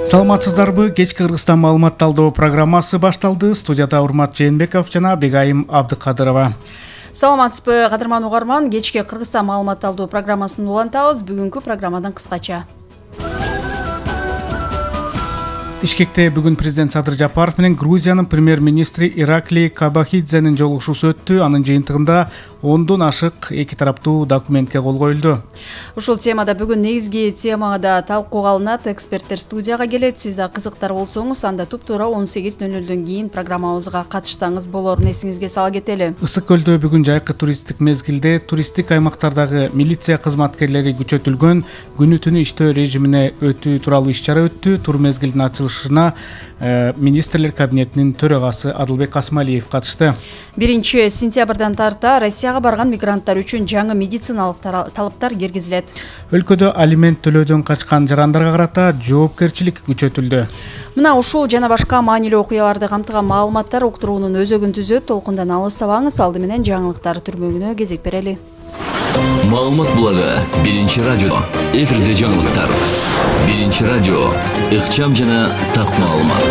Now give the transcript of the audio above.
Саламатсыздарбы? Кечки Кыргызстан маалымат талдоо программасы башталды. Студияда Урмат Жээнбеков жана Бегайым Абдыкадырова. Саламатсызбы, кадырман угарман. Кечки Кыргызстан маалымат талдоо программасын улантабыз. Бүгүнкү программадан кыскача. Бишкекте бүгүн президент Садыр Жапаров менен Грузиянын премьер-министри Ираклий Кабахидзенин жолугушуусу өттү. Анын жыйынтыгында 10дон ашык эки тараптуу документке кол коюлду. Ушул темада бүгүн негизги темада талкууга алынат. Эксперттер студияга келет. Сиз да кызыктар болсоңуз, анда туп-туура 18:00 кийин программабызга катышсаңыз болорун эсиңизге сала кетели. Ысык көлдө бүгүн жайкы туристтик мезгилде туристтик аймактардагы милиция кызматкерлери күчөтүлгөн күнү түнү иштөө режимине өтүү тууралуу иш-чара өттү. Тур мезгилдин ачылышына министрлер кабинетинин төрагасы Адылбек Касмалиев катышты. 1-сентябрдан тарта Россияга барган мигранттар үчүн жаңы медициналык талаптар киргизилет. Өлкөдө алимент төлөөдөн качкан жарандарга карата жоопкерчилик күчөтүлдү. Мына ушул жана башка маанилүү окуяларды камтыган маалыматтар уктуруунун өзөгүн түзөт. Толкундан алыстабаңыз. Алды менен жаңылыктар түрмөгүнө кезек берели. Маалымат булагы 1-радио. Эфирде жаңылыктар. 1-радио. Ыкчам жана так маалымат.